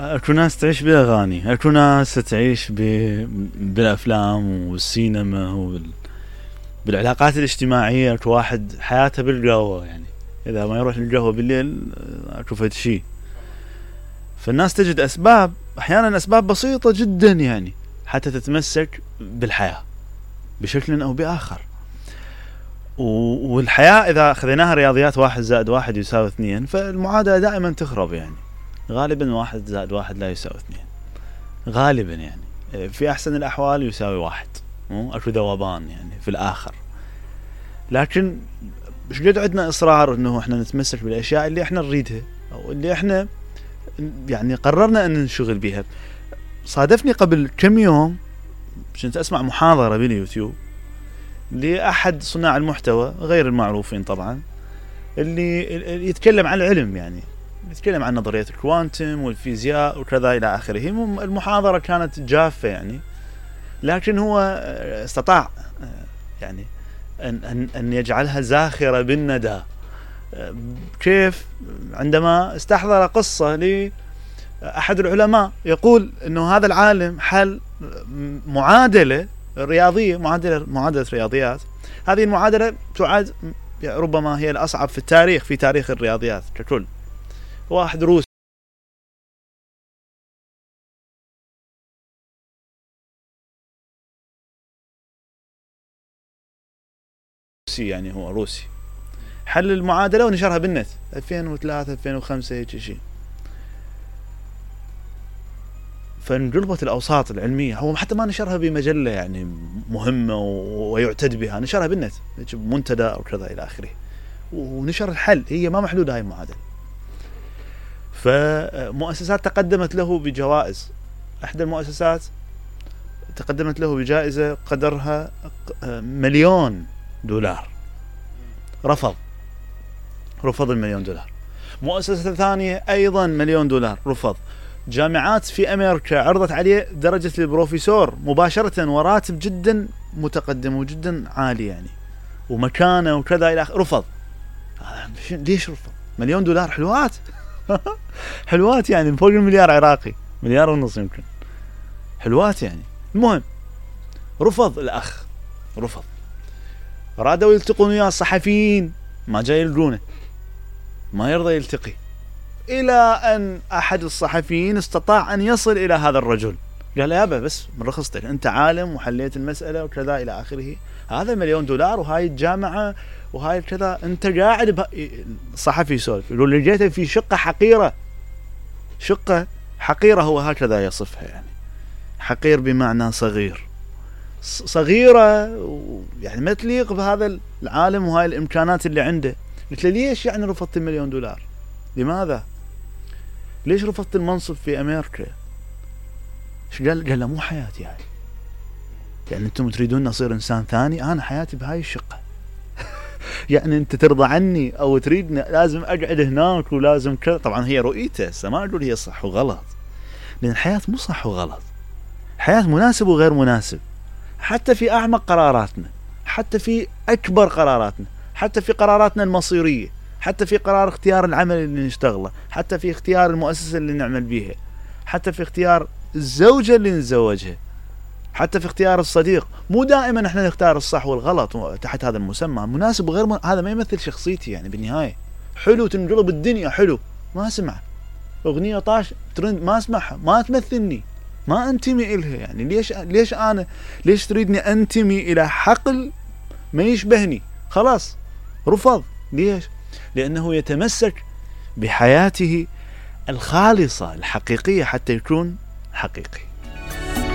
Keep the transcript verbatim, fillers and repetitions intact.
اكو ناس تعيش بالاغاني، اكو ناس تعيش ب... بالافلام والسينما وبال... بالعلاقات الاجتماعيه. اكو واحد حياته بالقهوه، يعني اذا ما يروح للقهوه بالليل اكو فد شيء. فالناس تجد اسباب، احيانا اسباب بسيطه جدا يعني حتى تتمسك بالحياه بشكل او باخر. والحياه اذا خذيناها رياضيات واحد زائد واحد يساوي اثنين، فالمعادله دائما تخرب. يعني غالبا واحد زائد واحد لا يساوي اثنين غالبا، يعني في احسن الاحوال يساوي واحد، اكو ذوبان يعني في الاخر. لكن مش قد عندنا اصرار انه احنا نتمسك بالاشياء اللي احنا نريدها او اللي احنا يعني قررنا ان نشغل بها. صادفني قبل كم يوم كنت اسمع محاضره باليوتيوب لاحد صناع المحتوى غير المعروفين طبعا، اللي يتكلم عن العلم، يعني يتكلم عن نظريه الكوانتم والفيزياء وكذا الى اخره. المحاضره كانت جافه يعني، لكن هو استطاع يعني ان ان ان يجعلها زاخره بالندى. كيف؟ عندما استحضر قصه لاحد العلماء يقول انه هذا العالم حل معادله رياضيه، معادله معادله رياضيات. هذه المعادله تعد ربما هي الاصعب في التاريخ، في تاريخ الرياضيات ككل. واحد روسي يعني هو روسي حل المعادله ونشرها بالنت ألفين وثلاثة ألفين وخمسة هيك شيء. فانقلبت الاوساط العلميه، هو حتى ما نشرها بمجله يعني مهمه ويعتد بها، نشرها بالنت منتدى او كذا الى اخره، ونشر الحل. هي ما محلوله هاي المعادله. فمؤسسات تقدمت له بجوائز. احدى المؤسسات تقدمت له بجائزه قدرها مليون دولار، رفض رفض المليون دولار. مؤسسه ثانيه ايضا مليون دولار، رفض. جامعات في امريكا عرضت عليه درجه البروفيسور مباشره وراتب جدا متقدم وجدا عالي يعني ومكانه وكذا الى اخره، رفض. ليش رفض؟ مليون دولار حلوات حلوات يعني فوق المليار عراقي، مليار ونص يمكن، حلوات يعني. المهم رفض الاخ، رفض. رادوا يلتقون وياه الصحفيين، ما جاي يلقونه، ما يرضى يلتقي، الى ان احد الصحفيين استطاع ان يصل الى هذا الرجل. قال له يابا بس من رخصتك، انت عالم وحليت المساله وكذا الى اخره، هذا مليون دولار وهاي الجامعه وهاي كذا، انت قاعد ب... الصحفي يسولف يقول لقيته في شقه حقيره، شقه حقيره، هو هكذا يصفها يعني، حقير بمعنى صغير، صغيره يعني ما تليق بهذا العالم وهاي الامكانات اللي عنده. قلت له ليش يعني رفضت المليون دولار؟ لماذا؟ ليش رفضت المنصب في امريكا؟ ايش قال؟ قال له مو حياتي هاي، يعني انتم تريدون اصير انسان ثاني، انا حياتي بهاي الشقه يعني انت ترضى عني او تريدني لازم اقعد هناك ولازم كذا. طبعا هي رؤيته، هسه ما اقول هي صح وغلط، لان الحياه مو صح وغلط، الحياه مناسب وغير مناسب، حتى في اعمق قراراتنا، حتى في اكبر قراراتنا، حتى في قراراتنا المصيريه، حتى في قرار اختيار العمل اللي نشتغله، حتى في اختيار المؤسسه اللي نعمل بيها، حتى في اختيار الزوجه اللي نتزوجها، حتى في اختيار الصديق. مو دائما احنا نختار الصح والغلط تحت هذا المسمى، مناسب وغير من... هذا ما يمثل شخصيتي يعني بالنهايه. حلو تنقلب الدنيا، حلو ما اسمع اغنيه طاش ترند ما اسمعها، ما تمثلني، ما انتمي الها يعني. ليش ليش انا ليش تريدني انتمي الى حقل ما يشبهني؟ خلاص رفض. ليش؟ لانه يتمسك بحياته الخالصه الحقيقيه حتى يكون حقيقي.